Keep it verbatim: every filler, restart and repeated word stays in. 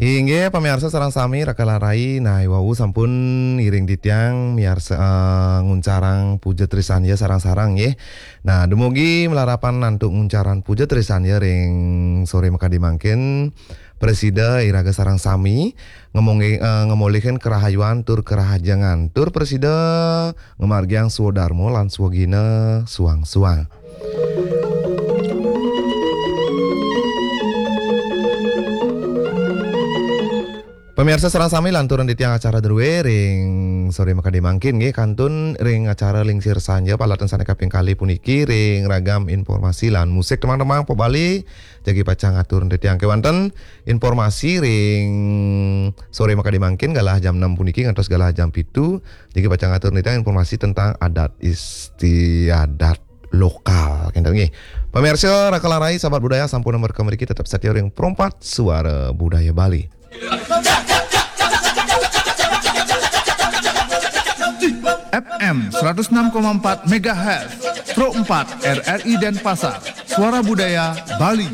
Inggih, pamiarsa sareng sami, raka lan rai, nah, wau sampun ngiring titiang miarsa, eh, nguncarang puja trisandya sareng-sareng, nggih. Nah, dumugi malarapan antuk nguncarang puja trisandya ring sore makadi mangkin, prasida iraga sareng sami ngemongge-, eh, ngamolihang karahayuan tur karahajengan, tur prasida ngamargiang swadarma lan swagina suang-suang. Pamiarsa sareng sami, lanturang titiang acara druéné ring sore makadi mangkin, nggih, kantun ring acara Lingsir Sanja palaton sané kaping kalih puniki ring ragam informasi lan musik. Temang-temang, Pok Bali, jagi pacang atur titiang kéwanten informasi ring sore makadi mangkin galah jam enam puniki ngantos galah jam pitu, jagi pacang atur titiang informasi tentang adat istiadat lokal. Kénten nggih. Pamiarsa, raka lan rai, sahabat budaya, sampun mereka mriki tetep setia ring Pro empat Suara Budaya Bali. F M seratus enam koma empat megahertz, Pro empat R R I Denpasar, Suara Budaya Bali.